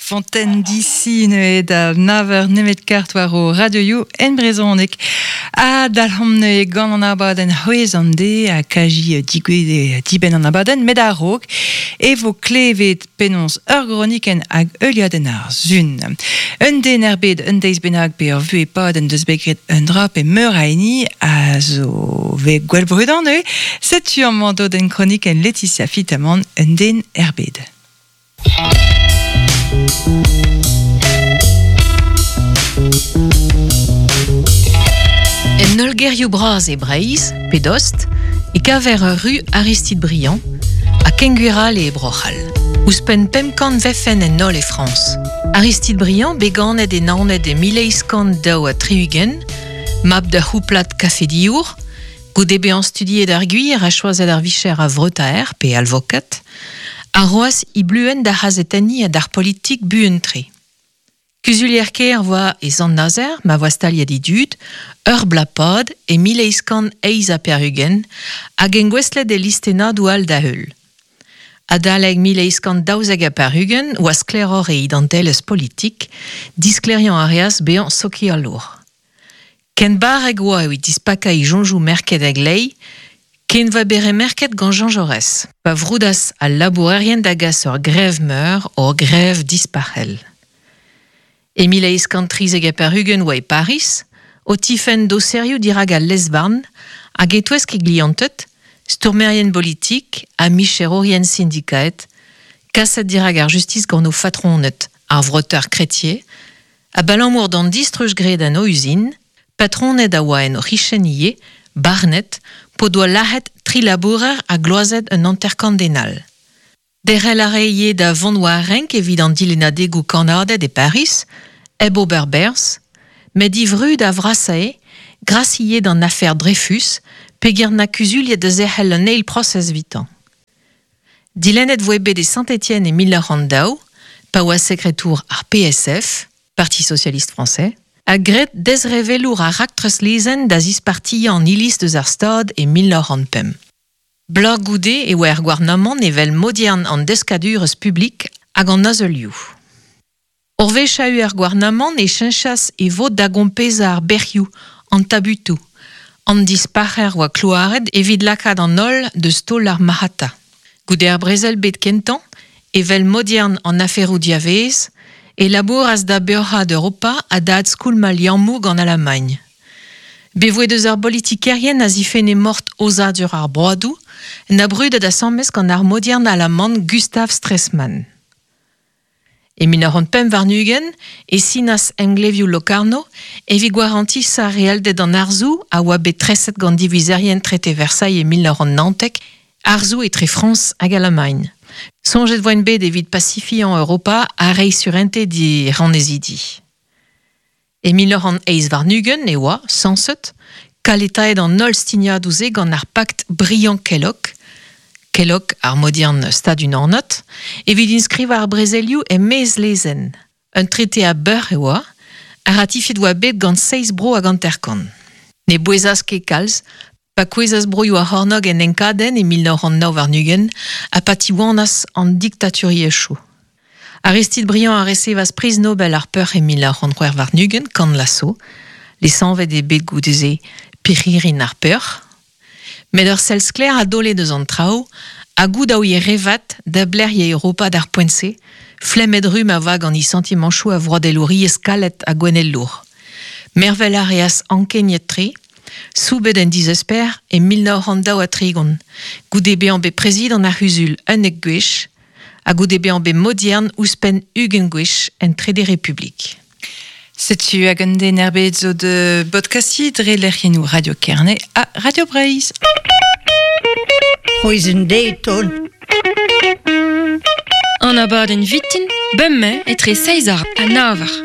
Fontaine d'ici neuze da naver nemet kart war o radioioù en brezhoneg. Ha dalc'homp neuze gant an abadenn c'hwezh an de ha kaji digouezhet dibenn an abadenn met a-raok e vo klevet penaos ur gronikenn hag heuliadenn ar sun. Un den er bed un deiz bennak pe ur vuhez pad en deus bet graet un dra pe meur a hini a zo vez gwell brudañ neuze. Setu amañ dodenn kronikenn Laetitia Fitamant, un den er bed. En holl gerioù bras e Breizh, pe dost, e kaver ur ru Aristide Briand ha kengwir all e Bro-C'hall. Ouzhpenn 500 vefen en holl e Frañs. Aristide Briand, bet ganet e Naoned e 1862, mab d'ur c'houplad kafediour, goude bezañ studiet ar gwir ha choazet ar vicher a vreutaer pe alvokad, a roas e bluenn d'ar c'hazetenniñ ha d'ar politik buan-tre. Kuzulier-kêr 'voa e Sant-Nazer ma voa staliet e dud, ur bloaz-pad e 1888 hag engouestlet e listennadoù all da-heul. Adalek 1892 oa sklaeroc'h e identelezh politik, disklêriañ a reas bezañ sokialour. Ken barrek oa evit dispakañ e soñjoù merket a-gleiz ken voa bet remerket gant Jean Jaurès pa vroudas al labourerien da gas ur grev meur, ur grev dispac'hel. E 1893 oa e Pariz, o tifenn doserioù dirak al lez-varn hag e-touesk e glianted, stourmerien bolitik ha micherourien sindikaet, kaset dirak ar justis gant o fatroned, ar vreutaer Crétier, Abalamour d'an distruj graet en o uzin, patroned a oa en o c'hichen ivez, barnet, p'o doa lazhet tri labourer ha gloazet un hanter-kant den all. Derc'hel a rae ivez da vont war renk evit an dilennadegoù kannaded e Pariz, hep ober berzh, met e vrud a vrasae, gras ivez d'an afer Dreyfus, peger na kuzuliet da zerc'hel un eil prosez evitañ. Dilennet voe bet e Saint-Étienne e 1902, pa oa sekretour ar PSF, Parti socialiste français, ha graet dezrevellour ar raktres lezenn da zispartiañ an Iliz deus ar Stad e 1905. Bloaz goude e oa er gouarnamant evel maodiern an deskadurezh publik hag an azeulioù. Ur wech a er gouarnamant e cheñchas e vod da gompezañ ar bec'hioù, an tabutoù. An dispac'her oa klouaret evit lakaat an holl deus taol ar marc'hata. Goude ar brezel-bed kentañ, evel maodiern an aferoù diavaez, e labouras da beoc'haat Europa ha da adskoulmañ liammoù gant Alamagn. Bet voe deus ar bolitikerien a zifenne mort aozadur ar broadoù, na brudet asambles gant ar maodiern alaman Gustav Stresemann. E 1925 e sinas emglevioù Locarno evit gwarantisañ realded an harzoù a oa bet treset gant divizerien trete Versailles e 1919, harzoù etre Frañs hag Alamagn. Soñjet voent bet evit pasifiañ Europa ha reiñ surentez d'he rannezidi. E 1928 e oa, sañset, kaletaet an holl stignadoù-se gant ar pakt Briand-Kellogg, Kellogg ar maodiern stadunanat, evit inskrivañ ar brezelioù e-maez lezenn. Un trete a beuc'h e oa, ha ratifiet oa bet gant seizh bro hag hanter-kant. Ne bouezas ket kalz, pa kouezhas broioù ar c'hornôg en enkadenn e 1929 ha pa tiwanas an diktaturiezhioù. Aristide Briand a resevas Priz Nobel ar Peoc'h e 1926 gant Lasso, lesanvet eo bet goude-se Pirc'hirin ar Peoc'h. Met ur sell sklaer a daole deus an traoù, ha goût a ouie re vat da blec'hiañ Europa d'ar poent-se, flemmet ru ma oa gant he santimanchoù a vroadelouriezh kalet ha gouennelour. Mervel a reas ankeniet-tre, soubet en dizesper e 1932, goude bezañ bet prezidant ar C'huzul 11 gwech, ha goude bezañ bet maodiern ouzhpenn 20 gwech en Trede Republik. Setu hag un den er bed zo de bodkastiñ dre lec'hiennoù Radio Kerne ha Radio Breizh. C'hwezh deiz ton. An abadenn vitin, bemdez etre seizh ha nav eur.